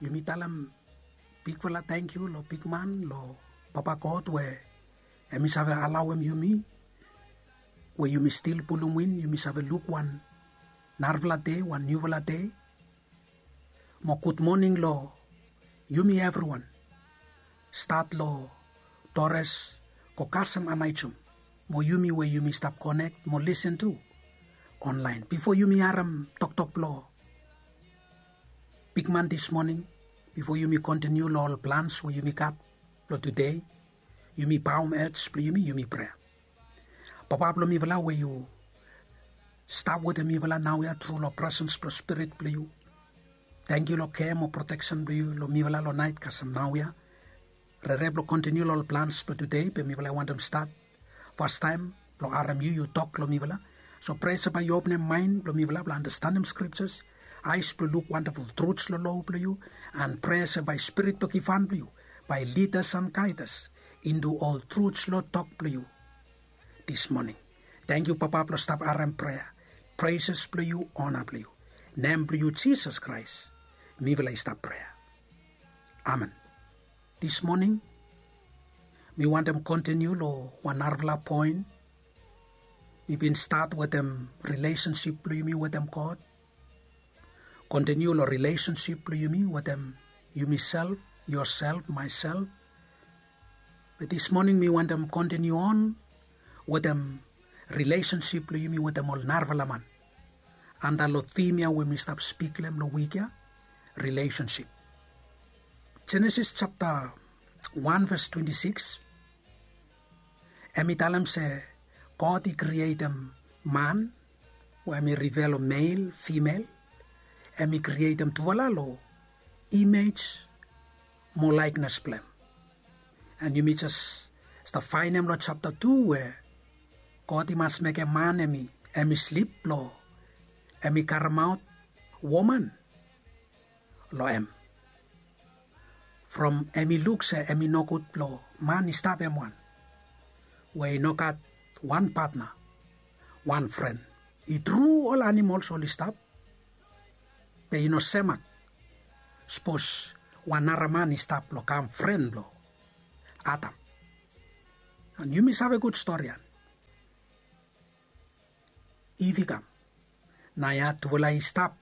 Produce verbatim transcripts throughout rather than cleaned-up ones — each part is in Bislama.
Yumi talem bigfala tangkiu long bigman, long Papa God we hemi save alaoem yumi, we yumi stil pulum win, yumi save luk wan narafala dei, wan niufala dei. Mo gudmoning long yumi evriwan. Stat long Torres go kasem Anaijum, mo yumi we yumi stap konek mo lisen tu onlaen. Bifo yumi harem toktok blong bigman dismoning, bifo yumi kontiniu long ol plans we yumi gat blong tude, yumi baom hed blong yumi, yumi prea. Papa blong mifala we yu stap wetem mifala naoia tru long presens blong Spirit blong yu. Tangkiu long kea mo proteksen blong yu long mifala long naet kasem naoia. Rere blong kontiniu long ol plans blong tude, be mifala i wantem stat fastaem blong harem yu, yu tok long mifala. So prea se bae yu openem maen blong mifala blong andastanem skriptas, aes blong luk wandaful truts long loa blong yu, and prea se bae Spirit blong givhan blong yu bae lidas and gaedas intu ol truts long tok blong yu dismoning. Tangkiu Papa blong stap harem prea, preses blong yu, ona blong yu. Nem blong yu Jisas Kraes mifala i stap prea. Amen. Dismoning mi wantem kontiniu long wan narafala poen. Mi bin stat wetem rilesensip blong yumi wetem God. Kontiniu long rilesensip blong yumi wetem yumiself, yoself, maesel. Be dismoning mi wantem kontiniu on wetem rilesensip blong yumi wetem ol narafala man, anda long tim ya we mi stap spik long hem long wik ya, rilesensip. Jenesis japta wan ves twenti sikis, hemi talem se God i krietem man, we hemi rifea long mel, fimel, hemi krietem tufala long imej mo laekenes blong hem. And yumi jes stap faenem long japta tu we God i mas mekem man hemi, hemi slip blong hemi karemaot woman long hem. From hemi luk se hemi nogud blong man i stap hem wan, we i no gat wan patna, wan fren. I tru ol animols oli stap, be i no semak sapos wan nara man i stap blong kam fren blong Adam. And yumi save gud storian. Iv i kam, naoia tufala i stap.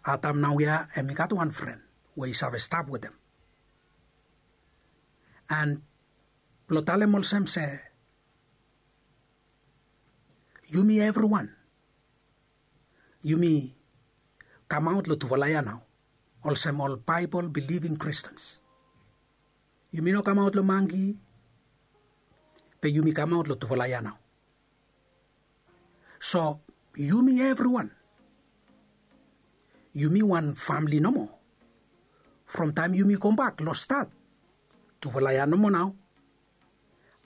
Adam naoia hemi gat wan fren we i save stap wetem. And blong talem olsem se yumi evriwan, yumi kamaot long tufala ya nao olsem ol Baebol biliving Kristens. Yumi no kamaot long mangki, be yumi kamaot long tufala ya nao. So yumi evriwan, yumi wan famle nomo. From taem yumi gobak long stat, tufala ya nomo nao,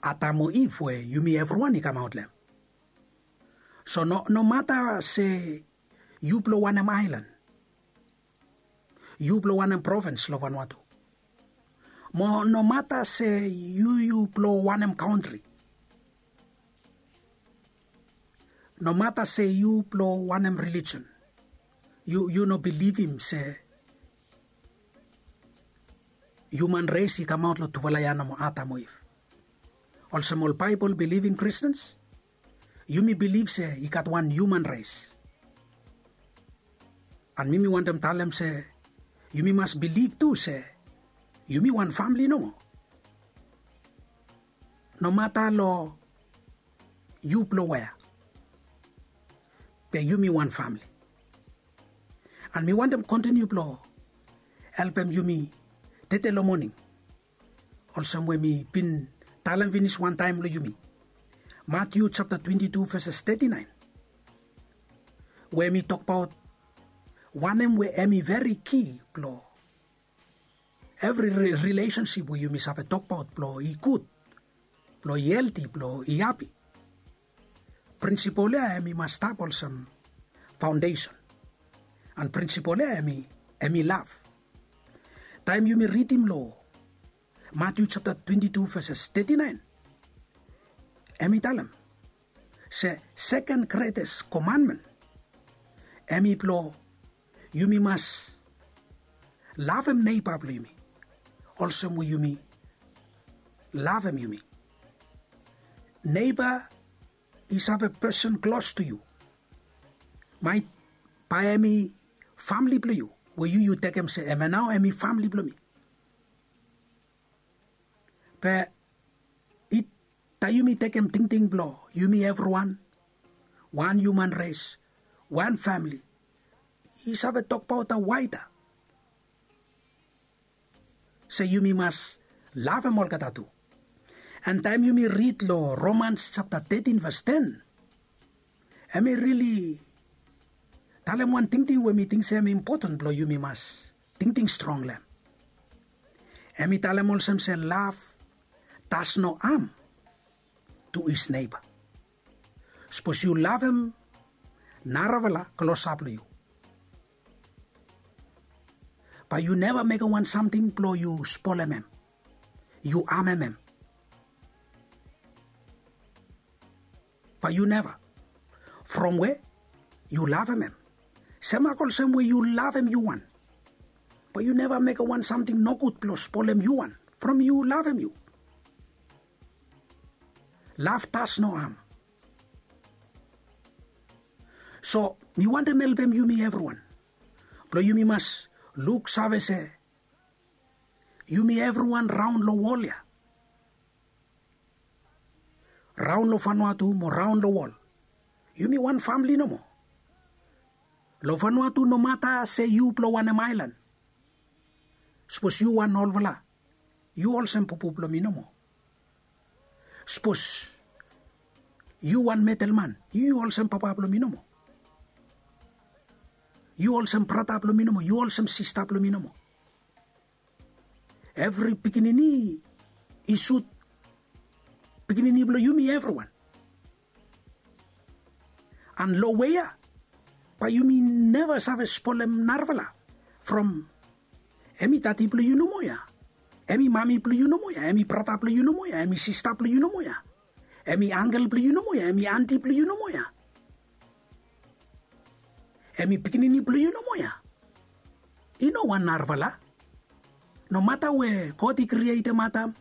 Adam o Iv, we yumi evriwan i kamaot long hem. So no, nomata se yu blong wanem aelan, yu blong wanem provins long Vanuatu, mo nomata se yu, yu blong wanem kantri, nomata se yu blong wanem relijion, yu, yu no bilivim se hiuman res i kamaot long tufala ya nomo, Adam o Iv. Olsem ol Baebol biliving Kristens, yumi bilif se i gat wan hiuman res. And mi, mi wantem talem se yumi mas bilif tu se yumi wan famle nomo. Nomata long yu blong wea, be yumi wan famle. And mi wantem kontiniu blong helpem yumi tede long moning, olsem we mi bin talem finis wantaem long yumi. Matiu japta twenti tu veses teti naen, we hemi tokbaot wanem we hemi veri ki blong evri ri-, rilesensip we yumi save tokbaot blong i gud, blong i helti, blong i hapi. Prinsipol ya hemi mas stap olsem faondesen. And prinsipol ya hemi, hemi lav. Taem yumi ridim long Matiu japta twenti tu veses teti naen, hemi talem se seken gretes komanmen hemi blong yumi mas lavem neiba blong yumi olsem we yumi lavem yumi. Neiba i save pesen klos to yu. Maet bae hem i famle blong yu, we yu yu tekem se hem ya nao hem i famle blong mi. Be i taem yumi tekem tingting blong yumi evriwan, wan hiuman res, wan famle, i save tokbaot waeda se yumi mas lavem olgeta tu. An taem yumi rid long Romans japta tetin ves ten, hem i rili talem wan tingting we mi ting se hem i impoten blong yumi mas tingting strong long hem. Hem i talem olsem se lav das no am tu his neiba. Sapos yu lavem narafala klosap long yu, bae yu neva mekem wan samting blong yu spolem hem, yu amem hem. Bae yu neva. From we yu lavem hem, semak olsem we yu lavem yu wan, bae yu neva mekem wan samting nogud blong spolem yu wan from yu lavem yu. Lav das no am. So mi wantem helpem yumi evriwan blong yumi mas luksave se yumi evriwan raon long wol ya, raon long Vanuatu mo raon long wol, yumi wan famle nomo. Long Vanuatu, nomata se yu blong wanem aelan, sapos yu wan olfala, yu olsem pupu blong mi nomo. Sapos yu wan metelman, yu yu olsem papa blong mi nomo. Yu olsem brata blong mi nomo, yu olsem sista blong mi nomo. Evri pikinini i sut pikinini blong yumi evriwan. An long we ya bae yumi neva save spolem narafala from hem i dadi blong yu nomo ya, hem i mami blong yu nomo ya, hem i brata blong yu nomo ya, hem i sista blong yu nomo ya, hem i angkel blong yu nomo ya, hem i anti blong yu nomo ya, hem i pikinini blong yu nomo ya. I no wan narafala. Nomata we God i krietem Adam,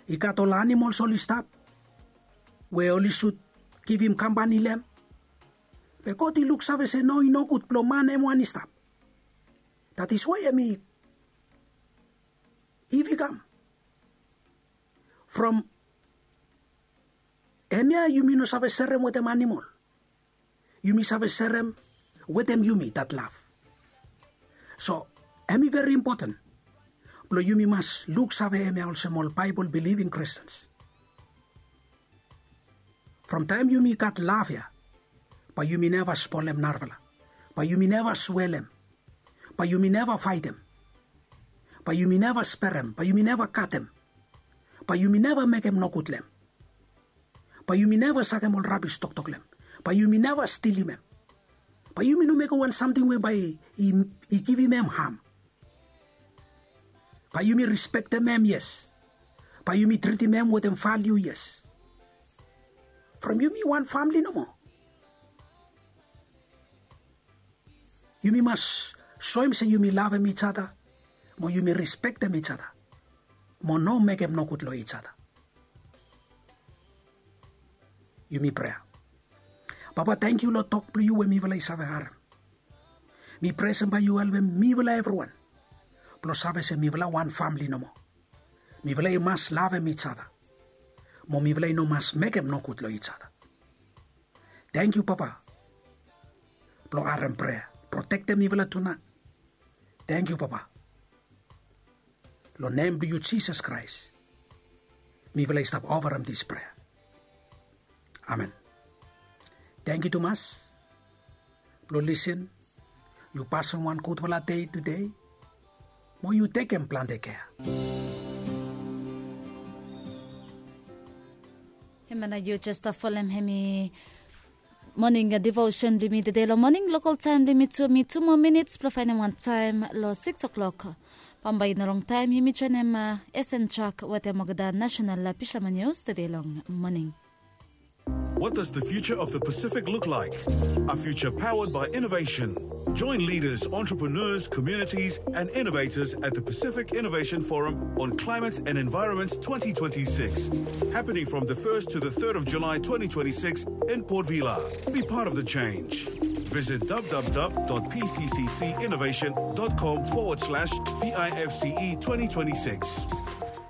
i gat ol animols oli stap we oli sud givim kampani long hem. Be God i luksave se no, i nogud blong man hem wan i stap. That is why hem i, Iv i kam. From hemia yumi no save serem wetem animol. Yumi save serem wetem yumi that lav. So hem i veri impoten blong yumi mas luksave hemia olsem ol Baebol bilivim Kristens. From taem yumi gat lav ya, bae yumi neva spolem narafala, bae yumi neva swelem, bae yumi neva faetem, bae yumi neva sperem, bae yumi neva katem, bae yumi neva mekem nogud long hem, bae yumi neva sakem ol rabis toktok long hem, bae yumi neva stilim hem, bae yumi no mekem wan samting we bae i, i givim hem ham. Bae yumi rispektem hem, yes. Bae yumi tritim hem wetem valiu, yes. From yumi wan famle nomo. Yumi mas soem se yumi lavem each other, mo yumi rispektem each other, mo no mekem nogud long each other. Yumi prea. Papa, tangkiu long tok blong yu we mifala i save harem. Mi prea se bae yu helpem mifala evriwan blong save se mifala wan famle nomo. Mifala i mas lavem each other, mo mifala i no mas mekem nogud long each other. Tangkiu Papa blong harem prea. Protektem mifala tunaet. Tangkiu Papa. Long nem blong yu Jisas Kraes mifala i stap ofarem dis prea. Amen. Tangkiu tumas blong lisin. Yu pasem wan gudfala dei tudei, mo yu tekem plante kea. Hemia nao yu jes folem hemi moning devosen blong yumi tede long moning lokal taem blong yumi tu, mi tu moa minits blong faenem wan taem long sikis o'clock. Bambae i no longtaem yumi joenem Esen Jok wetem olgeta nasenal Fisherman News tede long moning. What does the future of the Pacific look like? A future powered by innovation, Join leaders, entrepreneurs, communities, and innovators at the Pacific Innovation Forum on Climate and Environment twenty twenty-six, happening from the first to the third of July twenty twenty-six in Port Vila. Be part of the change. Visit w w w dot p c c c innovation dot com forward slash p i f c e twenty twenty-six.